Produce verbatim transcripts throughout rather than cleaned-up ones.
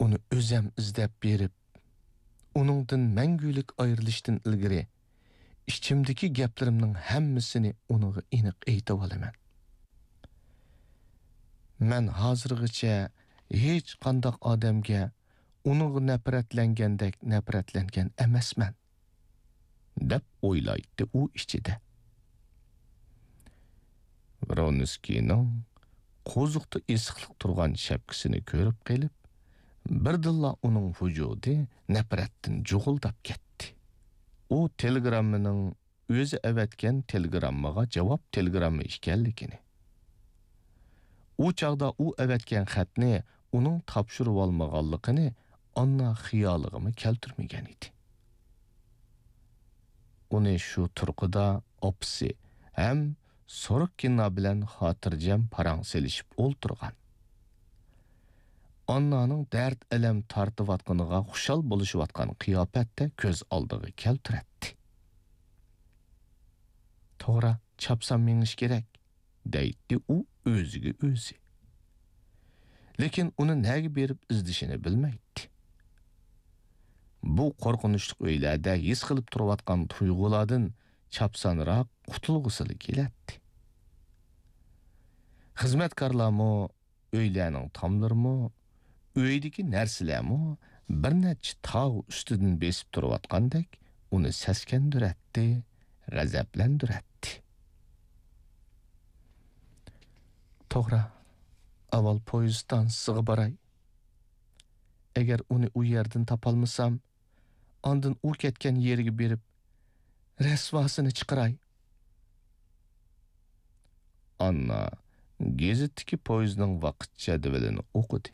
ئۇنى ئۆزەم ئىزدەپ بېرىپ، ئۇنىڭدىن مەڭگۈلۈك ئايرىلىشتىن ئىلگىرى ئىچىمدىكى گەپلىرىمنىڭ ھەممىسىنى ئۇنىڭغا ئېنىق ئېيتىۋالىمەن. مەن ھازىرغىچە ھېچقانداق ئادەمگە ئۇنىڭغا نەپرەتلەنگەندەك نەپرەتلەنگەن ئەمەسمەن، دەپ ئويلايتتى ئۇ ئىچىدە. ۋرونسكىينىڭ قوزۇقتا ئېسىقلىق تۇرغان شەپكىسىنى كۆرۈپ قېلىپ، بىردىنلا ئۇنىڭ ۋۇجۇدى نەپرەتتىن جۇغۇلداپ كەتتى. ئۇ تېلېگراممىنىڭ ئۆزى ئەۋەتكەن تېلېگراممىغا جاۋاب تېلېگرامما ئىكەنلىكىنى، ئۇ چاغدا ئۇ ئەۋەتكەن خەتنى ئۇنىڭ تاپشۇرۇۋالمىغانلىقىنى ئاننا خىيالىغىمۇ كەلتۈرمىگەن ئىدى. ئۇنى شۇ تۇرقىدا ئاپىسى ھەم سوروككىنا بىلەن خاتىرجەم پاراڭ سېلىشىپ ئولتۇرغان، ئاننانىڭ دەرد-ئەلەم تارتىۋاتقىنىغا خۇشال بولۇشۇۋاتقان قىياپەتتە كۆز ئالدىغا كەلتۈرەتتى. توغرا، چاپسان مېڭىش كېرەك، دەيتتى ئۇ ئۆزىگە ئۆزى. لېكىن ئۇنى نەگە بېرىپ ئىزدىشىنى بىلمەيتتى. بۇ قورقۇنچلۇق ئۆيلەردە ھېس قىلىپ تۇرۇۋاتقان تۇيغۇلاردىن چاپسانراق قۇتۇلغۇسىلا كېلەتتى. خىزمەتكارلارمۇ، ئۆيلەرنىڭ تاملىرىمۇ، ئۆيدىكى نەرسىلەرمۇ بىر نەچچە تاغ ئۈستىدىن بېسىپ تۇرۇۋاتقاندەك ئۇنى سەسكەندۈرەتتى، غەزەپلەندۈرەتتى. توغرا، ئاۋۋال پويىز ستانسىسىغا باراي. ئەگەر ئۇنى ئۇ يەردىن تاپالمىسام، ئاندىن ئۇ كەتكەن يېرىگە بېرىپ، رەسۋاسىنى چىقىراي. ئاننا گېزىتتىكى پويىزنىڭ ۋاقىت جەدۋىلىنى ئوقۇدى.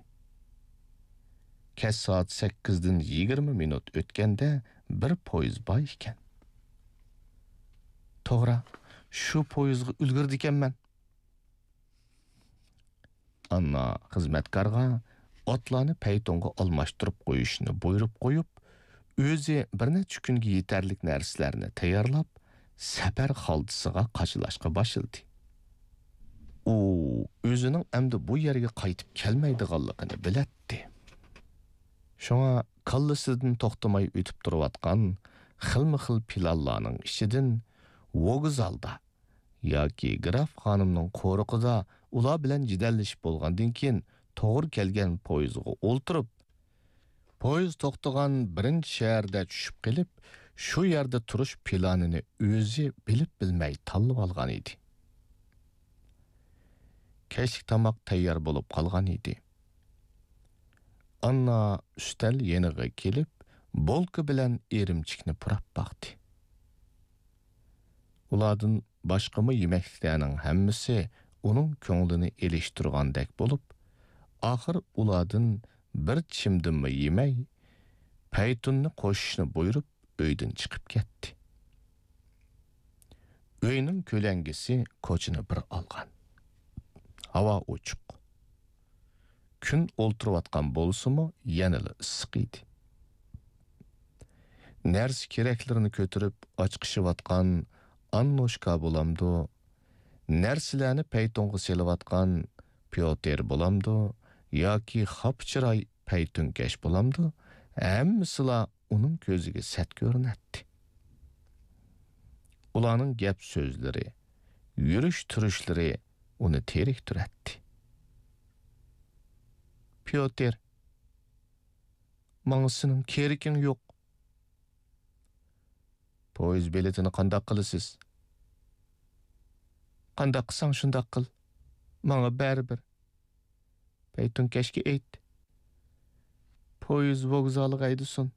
كەچ سائەت سەككىزدىن يىگىرمە مىنۇت ئۆتكەندە بىر پويىز بار ئىكەن. توغرا، شۇ پويىزغا ئۈلگۈرىدىكەنمەن. ئاننا خىزمەتكارغا ئاتلارنى پەيتۇنغا ئالماشتۇرۇپ قويۇشنى بۇيرۇپ قويۇپ، ئۆزى بىر نەچچە كۈنگە يېتەرلىك نەرسىلەرنى تەييارلاپ، سەپەر خالتىسىغا قاچىلاشقا باشلىدى. ئۇ ئۆزىنىڭ ئەمدى بۇ يەرگە قايتىپ كەلمەيدىغانلىقىنى بىلەتتى. شۇڭا كاللىسىدىن توختىماي ئۆتۈپ تۇرۇۋاتقان خىلمۇ خىل پىلانلارنىڭ ئىچىدىن ۋوگزالدا ياكى گراف خانىمنىڭ قورۇقىدا ئۇلار بىلەن جېدەللىشىپ بولغاندىن كېيىن، توغرا كەلگەن پويىزغا ئولتۇرۇپ، پويىز توختىغان بىرىنچى شەھەردە چۈشۈپ قېلىپ، شۇ يەردە تۇرۇش پىلانىنى ئۆزى بىلىپ بىلمەي تاللىۋالغان ئىدى. كەچلىك تاماق تەييار بولۇپ قالغان ئىدى. ئاننا ئۈستەل يېنىغا كېلىپ، بولكا بىلەن ئىرىمچىكنى پۇراپ باقتى. ئۇلاردىن باشقىمۇ يېمەكلىكلەرنىڭ ھەممىسى ئۇنىڭ كۆڭلىنى ئېلىشتۇرغاندەك بولۇپ، ئاخىر ئۇلاردىن بىر چىشىمدىنمۇ يېمەي، پەيتۇننى قوشۇشنى بۇيرۇپ، ئۆيدىن چىقىپ كەتتى. ئۆينىڭ كۆلەڭگىسى كوچىنى بىر ئالغان. ھاۋا ئوچۇق. كۈن ئولتۇرۇۋاتقان بولسىمۇ، يەنىلا ئىسسىق ئىدى. نەرسە-كېرەكلىرىنى كۆتۈرۈپ ئاچىقىشىۋاتقان ئاننوشكا بولامدۇ، نەرسىلەرنى پەيتۇنغا سېلىۋاتقان پيوتىر بولامدۇ ياكى خاپا چىراي پەيتۇنكەش بولامدۇ، ھەممىسىلا ئۇنىڭ كۆزىگە سەت كۆرۈنەتتى. ئۇلارنىڭ گەپ-سۆزلىرى، يۈرۈش-تۇرۇشلىرى ئۇنى تېرىكتۈرەتتى. پيوتىر، ماڭا سېنىڭ كېرىكىڭ يوق. پويىز بېلىتىنى قانداق قىلىسىز؟ قانداق قىلساڭ شۇنداق قىل. ماڭا بەرىبىر. پەيتۇنكەشكە ئېيت، پويىز ۋوگزالىغا ھەيدىسۇن.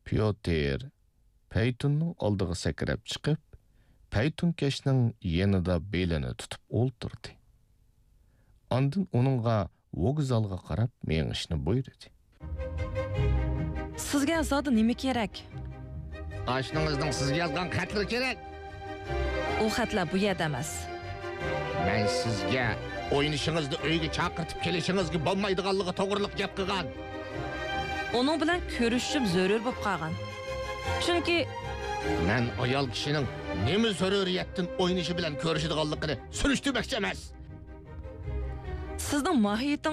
پيوتىر پەيتۇننىڭ ئالدىغا سەكرەپ چىقىپ، پەيتۇنكەشنىڭ يېنىدا بېلىنى تۇتۇپ ئولتۇردى. ئاندىن ئۇنىڭغا ۋوگزالغا قاراپ مېڭىشنى بۇيرۇدى. سىزگە زادى نېمە كېرەك؟ ئاشنىڭىزنىڭ سىزگە يازغان خەتلىرى كېرەك. ئۇ خەتلەر بۇ يەردە ئەمەس. مەن سىزگە ئوينىشىڭىزنى ئۆيگە چاقىرتىپ كېلىشىڭىزگە بولمايدىغانلىقى توغرىلىق گەپ قىلغان. ئۇنىڭ بىلەن كۆرۈشۈشۈم زۆرۈر بولۇپ قالغان. چۈنكى مەن ئايال كىشىنىڭ نېمە زۆرۈرىيەتتىن ئوينىشى بىلەن كۆرۈشىدىغانلىقىنى سۈرۈشتۈرمەكچى ئەمەس. سىزنىڭ ماھىيىتىڭىز